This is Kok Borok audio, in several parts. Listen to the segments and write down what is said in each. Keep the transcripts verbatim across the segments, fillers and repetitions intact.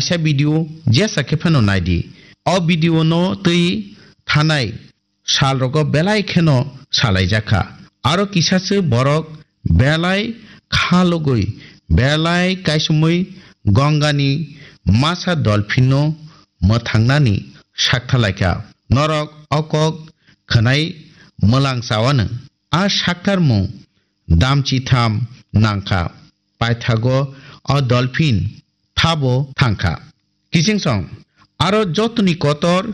Kaisa video jesa khe phano naidi. O video no twi thanai sal rogo belai kheno salaijakha. Aro kisasa borok belai kha logwi, belai kaisomwi Gongani masa dolphin no mwthangnani saktha laikha. Norok o kok khwnai mwlang chawano. A saktarmung damchitham nangkha. Paithago o dolphin thabo thangkha. Kichingsong aro jotoni kotor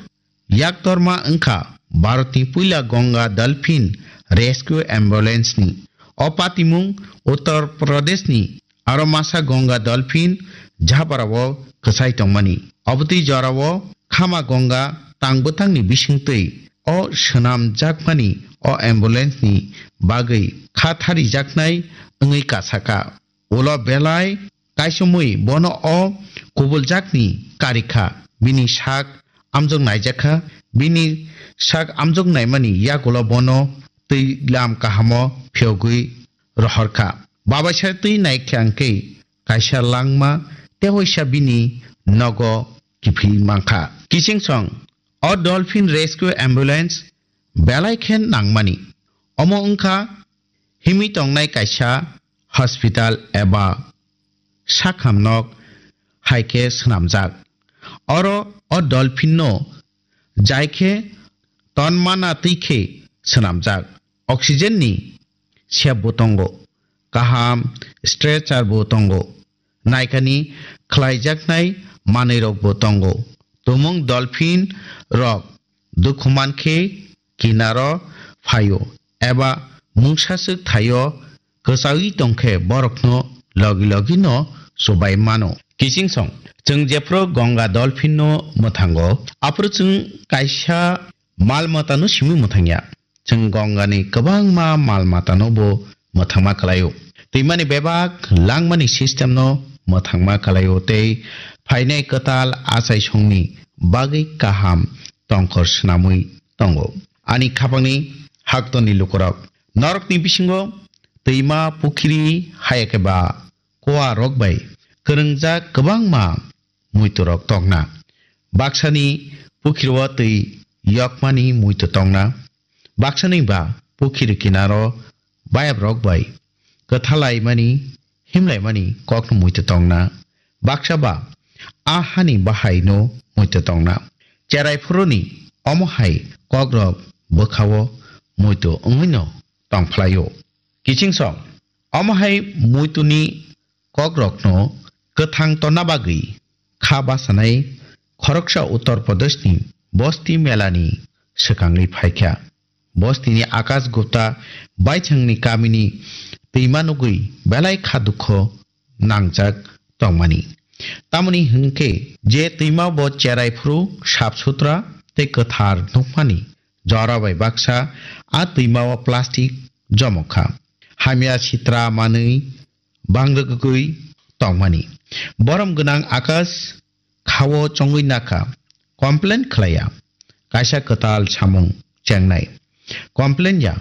yaktorma wngkha Bharatni puila Ganga Dolphin Rescue Ambulance ni. O patimung Uttar Pradesh ni aro masa Ganga Dolphin Jhabara o kwchai tongmani. Obotwi jorao Khama Ganga tang bwtangni bisingtwi o swnamjakmani o ambulance ni bagwi kha tharijaknai wngwi kasaka. Ulo belai kaisomwi bono o kubuljak ni karikha, bini sak amjok naijakha, bini sak amjok naimani yagulo bono twi lam kahamo phiyogwi rohorkha. Babaisa twi naikha hwnkhe kaisa langma tewaisa bini nogo kiphilwi mankha. Kichingsong o Dolphin Rescue Ambulance belai khe nangmani. Omo wngkha himwi tongnai kaisa hospital eba sakham nok hai khe swnamjak. Oro o dolphin no jai khe tonmana twi khe swnamjak. Oxygen ni sep bo tongo, kaham stretcher bo tongo, naikani khlaijaknai manwi rok bo tongo. Tumung dolphin rok dukhu mankhe kinaro phaio eba mungsaswk thaio kwchaui tongkhe borokno logi logi no chubai mano. Kichingsong chwng jephru Ganga dolphin no mwthango, aphuru chwng kaisa mal matano simi mwthangya. Chwng Gongani kwbangma mal matano bo mwthangma kwlaio. Twimani bebak langmani system no mwthangma kwlaio tei phainai kwtal achaisongni bagwi kaham tongkhor swnamwi tongo. Ani khapangni haktorni lukurok, norokni bisingo twima, pukhiri, hayakhe ba kua rok bai kwrwngjak kwbangma muitu rok tongna. Baksani pukhiro twi yokmani muitu tongna. Baksani ba pukhiri kinaro bayap rok bai kwthalaimani, himlaimani kokno muitu tongna. Baksa ba a hani bahaino muitu tongna. Cherai phuruni omo hai kokrok bwkhao muitu wngwino tongphlaio. Kichingsong omo hai muituni kokrokno kwthang tonna bagwi kha basanai khoroksa Uttar Pradeshni Bosti Melani swkangwi phaikha. Bostini Akash Gupta baithangni kamini twima nugwi belai kha dukho nangjak tongmani. Tamoni hwnkhe je twima bo cherai phuru sap sutra tei kwthar nukmani jora bai baksa a twima o plastic jomokha. Hamya sitra manwi bangrwgwi tongmani. Borom gwnang Akash khao chongwi nakha, complain khlaiya. Kaisa kwtal samung chengnai. Complain ya,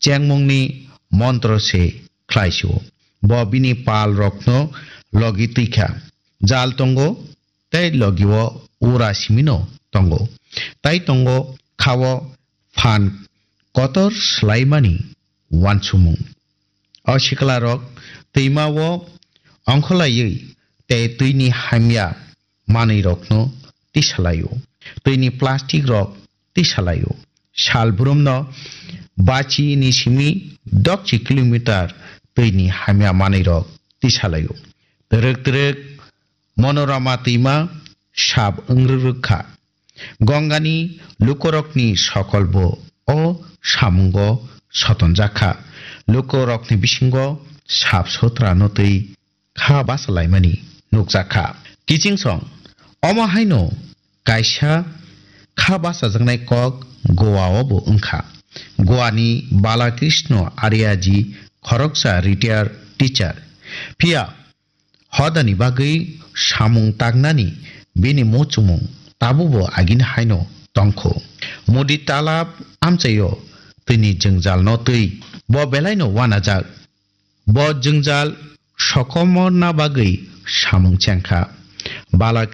chengmungni montro se khlaisio. Bo bini pal rokno logi twikha. Jal tongo, tei logi o ura simino tongo. Tai tongo khao phan kotor swlaimani wansukmung. O siklarok twima o ongkholaiwi tei twini hamya manwirokno tisalaio. Twini plastic rok tisalaio. Sal brumno bachi ni simi dokchi kilometer twini hamya manwirok tisalaio. Twrwk twrwk Monorama twima sap wngrwk rwkha. Gongani lukurokni sokolbo o samungo sotonjakha. Lukurokni bisingo sap sotrano twi kha bachalaimani nukjakha. Kichingsong omo haino kaisa kha bachajaknai kok Goa o bo wngkha. Goa ni Balakrishna Aryaji khoroksa retired teacher. Phiya hodani bagwi samung tangnani bini muchungmung tabukbo agini haino tongkho. Mudi talab amchaio twini jwngjalno twi bo belaino uanajak. Bo jwngjal sokomorna bagwi samung chengkha. Bala